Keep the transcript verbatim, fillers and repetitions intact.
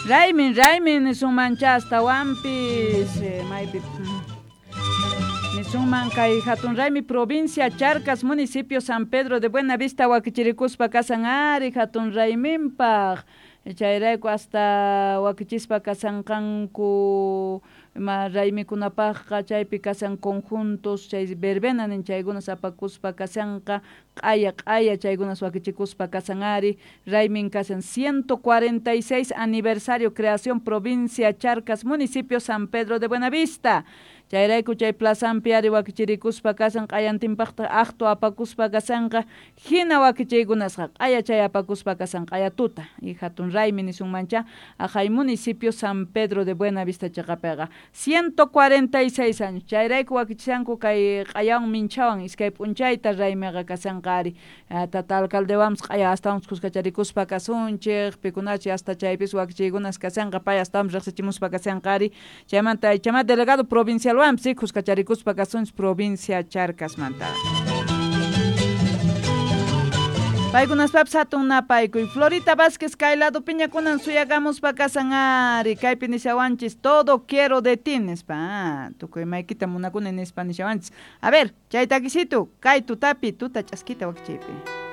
Raymin, raymin nisunmancha astawanpis maypi nisunman kay hatun raymi provincia Charcas municipio San Pedro de Buenavista wakichirikuspa kasan ari hatun rayminpaq chayrayku hasta wakichispa kasanqanku ima raymikunapaqqa chaypi kasan conjuntos chay verbena nin chaykunas apakuspa kasanqa q'aya q'aya chaykunas wakichikuspa kasan ari raymin kasan ciento cuarenta y seis aniversario creación provincia Charcas municipio San Pedro de Buenavista chayrayku chay plazanpi ari wakichirikuspa kasan q'ayantinpaqta aqtu apakuspa kasanqa hina wakichiykunasqa q'aya chay apakuspa kasan q'aya tuta y hatun raymi nisunmancha aqhay municipio San Pedro de Buenavista chiqapiqa ciento cuarenta y seis años chayrayku wakichishanku kay q'ayawan minchawan iskay p'unchayta raymiqa kasanqa ari tata alcaldewanpas q'aya astawanpas kuskacharikuspa kasunchik pikunachi hasta chaypis wakichiykunas kasanqa pay astawanpas riqsichimuspa kasanqa ari chaymanta chama delegado provincial wanpis kuskacharikuspa kasunchik provincia Charcasmanta. Paykunaspapis hatun napaykuy Florita Vázquez kay lado piñakunan suyakamuspa kasan ari kaypi nishawanchis todo quiero de ti nispa ah, tukuy maykita munakuni nispa nishawanchis. A ver, chay takisitu kay tutapi tuta ch'askita wakichiypi.